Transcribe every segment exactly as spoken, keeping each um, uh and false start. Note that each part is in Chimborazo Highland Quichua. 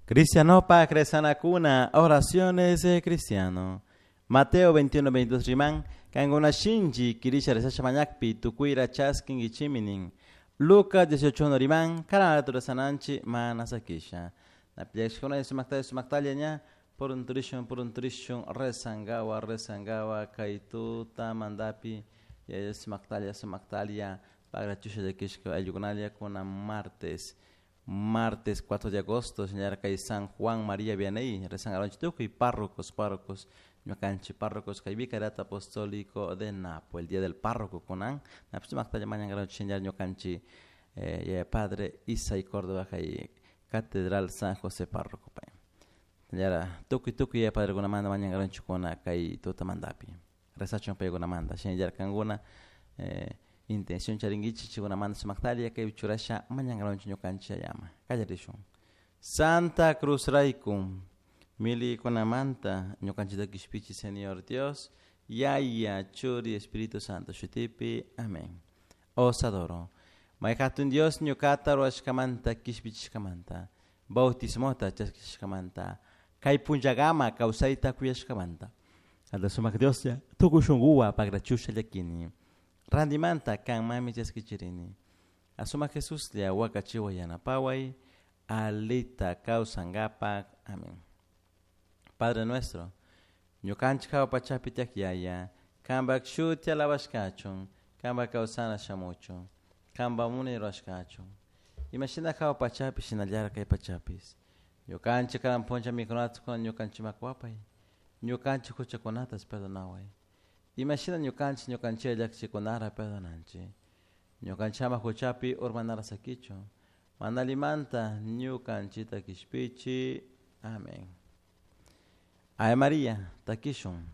Cristianopa Cresanacuna, oraciones de cristiano. Mateo veintiuno veintidós riman, cancuna shinchi quirisha rezasha mañakpi tucuira chasquinguichiminin. Lucas dieciocho uno riman, karanatu rezananchi mana sakisha. Napillaxcuna sumaktalla sumaktalla ña, purunturishun purunturishun rezangawa rezangawa kay tuta mandapi yaya sumaktalla sumaktalla pagrachusha llakishka ayllukunalla kuna martes. Martes cuatro de agosto, señora kay San Juan María Vianney, rezangaronchi tukuy párrocos, párrocos, ñukanchi párrocos kay Vicariato Apostólico de Napo, el día del párroco kunan, napi sumaktalla mañangaronchi señora ñukanchi, eh, yaya padre Isai Córdoba kay Catedral San José párroco pay. Señora tukuy tukuy yaya padre kunamanta mañangaronchi kuna kay tutamantapi. Rezachun paykunamanta, señora kankuna, eh, intención charinguichi chikunamanta sumaktalla kay churasha mañangaronchi ñukanchi llama. Kallarishun. Santa Cruz rayku milikunamanta ñukanchita kishpichi Señor Dios, Yaya, Churi, Espíritu Santo, shutipi. Amén. Os adoro. Mayhatun Dios ñukata ruwashkamanta kishpichishkamanta, bautismota chaskishkamanta, kay punllagama kawsayta kuyashkamanta. Alta sumak Dios ya, tukuy shunquwa pagrachusha llakini. Randimanta kanmami chaskichirini. Asuma Jesús lia wakachiwa yanapaway, alita kawsangapak. Amén. Padre nuestro, ñukanchik hawa pachapi tiyak yaya, kanpak shuti alabashkachun, kanpak kawsana shamuchun, kanpak munay rurashkachun. Imashina hawa pachapi shinallara kay pachapis. Ñukanchik karan puncha mikunata kuna ñukanchimak wapay, ñukanchik huchakunatas perdonaway. Imashina ñukanchik ñukanchik llakichikunara perdonanchik. Ñukanchama huchapi urmanara sakichu, manalimanta ñukanchita kishpichi. Amén. Ave María, takishun.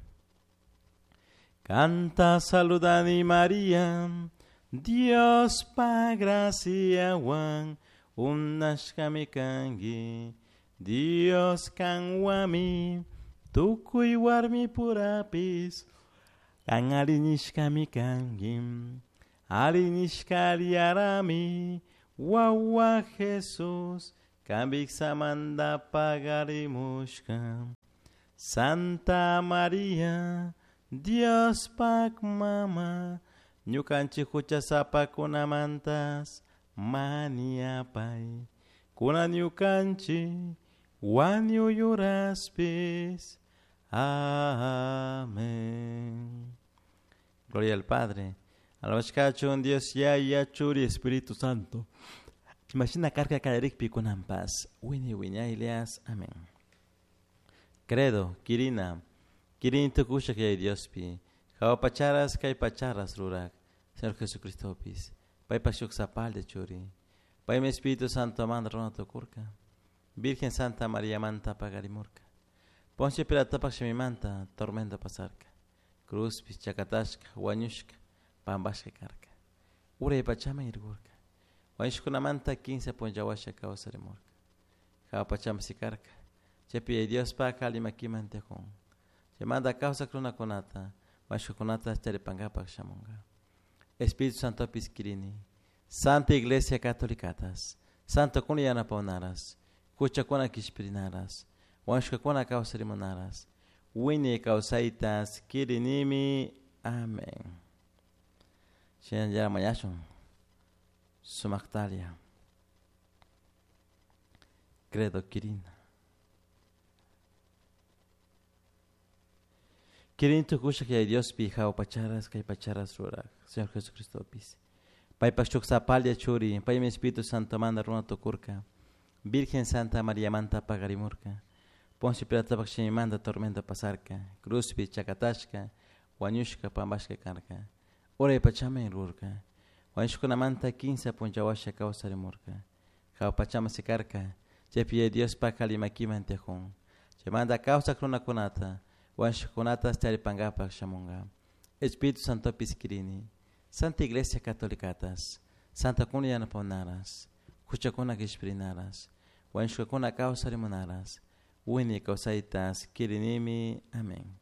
Canta saludani María, Dios pa gracia wan, unashkami kangi, Dios kanwami, tukuy warmi purapis, kan arinishkami kangi, arinishkariarami, wawa Jesús, kambiksamanda pagarimushka. Santa María, Dios pak mama, ñukanchik huchasapakunamantas maniapay, kuna ñukanchik wañuyuraspis. Amén. Gloria al Padre, alabashkachun Dios Yaya, Churi, Espíritu Santo. Imagina karka kallarikpi kunanpas, wini wiñaylias. Amén. Credo, Kirina, Kirin tukusha kay Diospi, hawa pacharas kay pacharas rurak, Señor Jesucristopis, paypa shuk sapal de churi, paymi Espíritu Santo manda runa tukurka, Virgen Santa María manta pagarimurka, Poncio Pilatopak shimimanta tormenta pasarka, cruzpis chakatashka, wañushka, pampashka karka, uray pachaman irkurka, wañushkunamanta quince punllawasha kawsarimurka, hawa pachaman sikarka, chaypi Diospak allimakiman tiyakun, chaymanta kawsak runakunata, wañushkakunata charipankapak shamunka. Espíritu Santopis kirini, Santa Iglesia Católicatas, Santo kuna yanapawnaras, huchakuna kishpirinaras, wañushkakuna kawsarimunaras, wiñay kawsaytas kirinimi. Amén. Shinallara mañashun sumaktalia. Credo kirina. Kirin tukusha kay Diospi hawa pacharas kay pacharas rurak, Señor Jesucristopis. Paypak shuk sapalya churi, paymi Espíritu Santo manda runa tukurka, Virgen Santa María manta pagarimurka, Poncio Pilatopak shimimanta tormenta pasarka, cruzpi chakatashka, wañushka pampashka karka, uray pachaman rurka, wañushkunamanta quince punllawasha kawsarimurka, hawa pachaman sikarka, chaypi Diospak allimakiman tiyakun, chaymanta kawsak runakunata, wañushkakunatas charipankapak shamunka. Espíritu Santopis kirini, Santa Iglesia Católicatas, Santa kuna yanapawnaras, huchakuna kishpirinaras, wañushkakuna kawsarimunaras, wiñay kawsaytas kirinimi. Amén.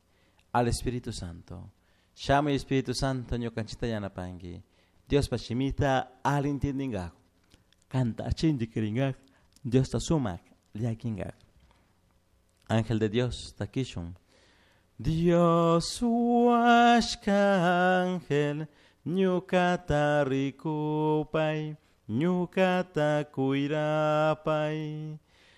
Al Espíritu Santo. Shamuy Espíritu Santo ñukanchita yanapanki. Diospa shimita alli entendinkaku. Kanta achinchi kirinkaku. Diosta sumak llaquingaj. Ángel de Dios, takishun. Dios huashka ángel, ñukata rikupai, ñukata cuirapai.